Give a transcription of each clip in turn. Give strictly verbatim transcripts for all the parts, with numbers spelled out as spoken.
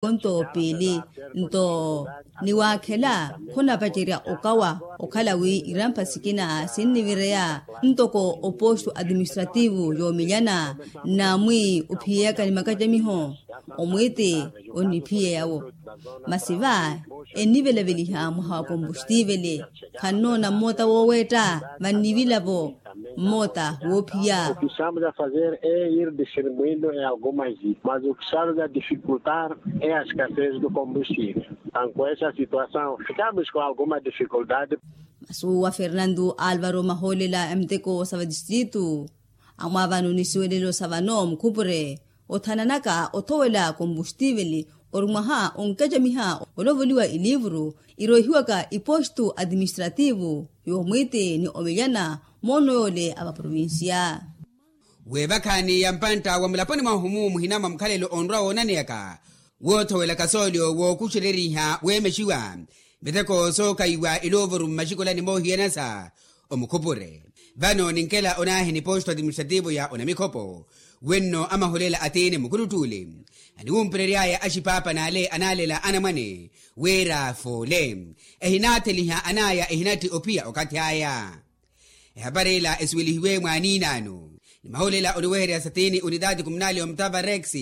Ponto piili nto niwaakhela khunapacerya okawa okhala wi irampha sikina sinnivireya ntoko oposto administrativo yoomelyana namwi ophiyeyaka ni makacamiho omwiiti onniphiyeyawo masi va ennivelaveliha mwaha wa kompostivele khannoona mmoota wooweetta vannivilavo mmoota woophiya. O ki estamos a fazer é ir distribuindo em algumas ilhas mas o ki estamos a dificultar é a escassez do combustível. Anto essa situação ficamos com alguma dificuldade. Masi wa fernando alvaro mahoolela a miteko sa vadistritu amwaavano ni siwelelo sa vano mukhupure othananaka othowela kompostivele ori mwaha onkacamiha olovoliwa ilivuru iroihiwaka ipostu administrativo yoomwiiti ni omilyana moono yoole a vaprovincia. Weevakhaani ya mpantta wa mulaponi mwahu-mu muhina mwa mukhalelo onrwa woonaneyaka woothowelaka soolyo wookuxereriha weemexiwa miteko sookaiwa iloovuru mmaxikolani moohiyanasa omukhupure vano ninkela onaahi ni posto administrativo ya onamikhopo wenno amaholela atiini mukuluttuule aniwumpurery'aya axipaapa n'ale anaalela anamwane wira foole ehinaatheliha an'aya ehinatti ophiya okathi aya. Ehapari ila esuwelihiwe mwaaniinaano ni maholela oniweherya satini unitaati kumunali omutava rex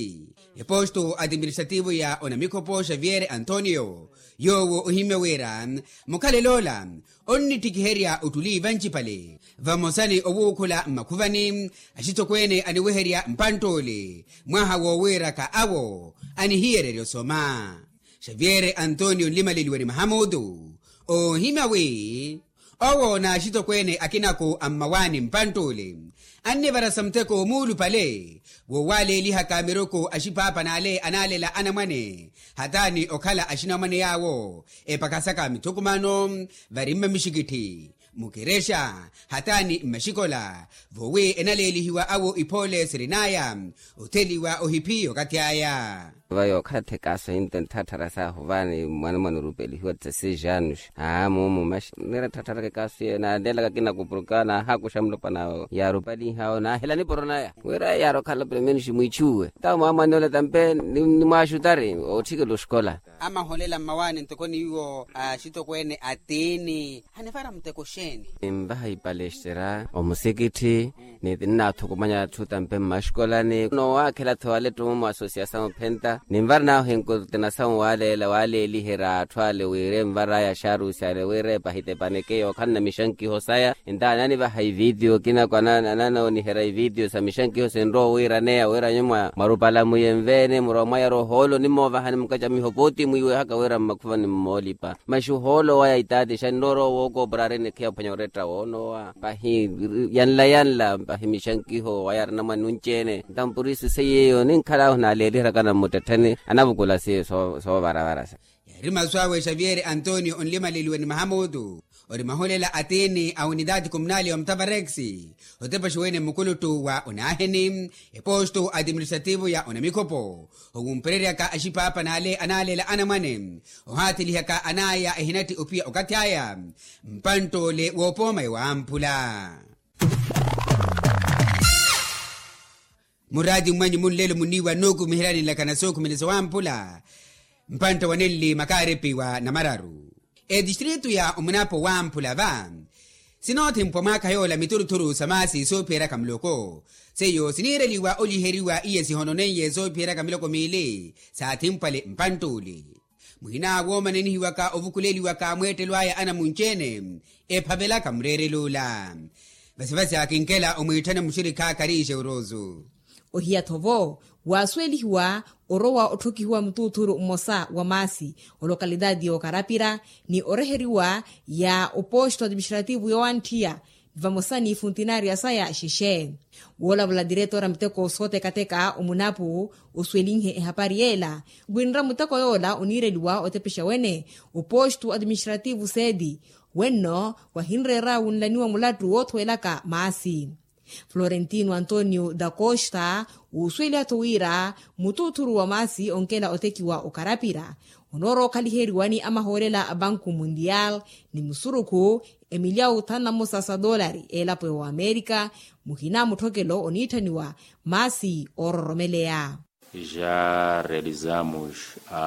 eposto administrativo ya onamikhopo xavier antonio yoowo ohimya wira mukhalel'ola onnittikiherya ottuli vancipale vamosa ni owuukhula mmakhuvani axitokweene aniweherya mpantt'ole mwaha woowiiraka awo anihiyererya osoma. Xavier antonio nlimaleliwa ni mahamutu oohimya wi owo n'axitokweene akinako a mmawaani mpantt'ule annivarasa muteko muulupale woowaleelihaka miroko a xipaapa n'ale anaalela anamwane hataani okhala axinamwane yaawo epakasaka mithukumano vari mmamixikitthi mukerexa hataani mmaxikola voowi enaleelihiwa awo iphoole sirin'aya otheliwa ohiphiya okathi aya. Vayo okhala thekaaso hinto ntthatthara saahu vaani mwanamwana orupelihiwa tsa seis anos aa mumu maxi nira tthaattharaka ekaaso yeyo naanelaka kinakupuruka naahaakuxa mulopwana yaarupalinhawo naahela niporo naya wira yaari okhala pelo menos mwiichuwe tawo mwaamwan'ola tampe nimwaaxutari ootthikela oxikola. Amaholela mmawaani ntoko niwo axitokweene atiini hanivara muteko xeeni? Ninvaha ipalestra omusikitthi ni ninnaathukumanya atthu tampe mmaxikolani noowaakhela-tho walettumo mu asosiasawu ophenta ninvara naahu enkortinasawu waaleela waaleeliherya atthu ale wira envar'aya axaarusi ale wira epahitepaneke yookhalana mixankiho saya. Ntaani anivaha ivitiyo kinako ananooniherya ivitiyo sa mixankiho sinrowa owiiraneya wira nyuwo mwarupala muye nveene murowa mwayara ohoolo onimoovahani mukacamiho pooti mwiiwehaka wira mmakhuvani mmoolipa maxi ohoolo waya itaati xa nnoorowa wookoopora ari nikhiya ophwanya oretta woonoowa pahi yanla yanla pahi mixankiho waya arinamwane nunci-ene ntampu risu seiye eyo ninkhal'ahu naaleeliheryakana mmuttettheni anavukula seiyo soovaravara sa. Yaari masu awe xavier antonio onlimaleliwe ni mahamutu ori maholela atiini a unitaati kumunali wa mutavarex otepexiwene mukuluttu wa onaaheni eposto administrativo ya onamikhopo owumpereryaka axipaapa n'ale anaalela anamwane ohaathilihaka an'aya ehinatti ophiya okathi aya mpantt'ole woopooma ewamphula. Muraati mmwanyu munlelo muniiwa nookumiheryani nlakana sookhumelesa wamphula mpantta wa nenli makaaripi wa namararu etistritu ya omunapo wamphula va sinoothimpwa mwaakha yoola mituruthuru sa maasi soophiyeryaka muloko seiyo siniireliwa oliheriwa iye sihononeiye soophiyeryaka miloko miili saathimpwale mpantt'uli muhina woomanenihiwaka ovukuleliwaka mweettelo aya anamunci-ene ephavelaka mureerel'ula vasivasi akinkela omwiitthana muxirikha kariixe oruusu. Ohiya-tho vo waasuwelihiwa orowa otthokihiwa mutuuthuru mmosa wa maasi olokalitati y'okarapira ni oreheriwa ya oposto administrativo yoowanttiya vamosa n'ifuntinariya saya xexe. Woolavulela diretora muteko sootekateka omunapu osuwelinhe ehapari yeela winra muteko yoola oniireliwa otepexa wene oposto administrativo sedi wenno wahinreera wunlaniwa mulattu woothowelaka maasi. Florentino antonio da costa wuusuweliha-tho wira mutuuthuru wa maasi onkela otekiwa okarapira onoorowa okhaliheriwa ni amahoolela a banku mundial ni musurukhu emilyawu thanu na mmosa sa doolari eelapo ya oamerika muhina mutthokelo oniitthaniwa maasi oororomeleya. Já realizamos a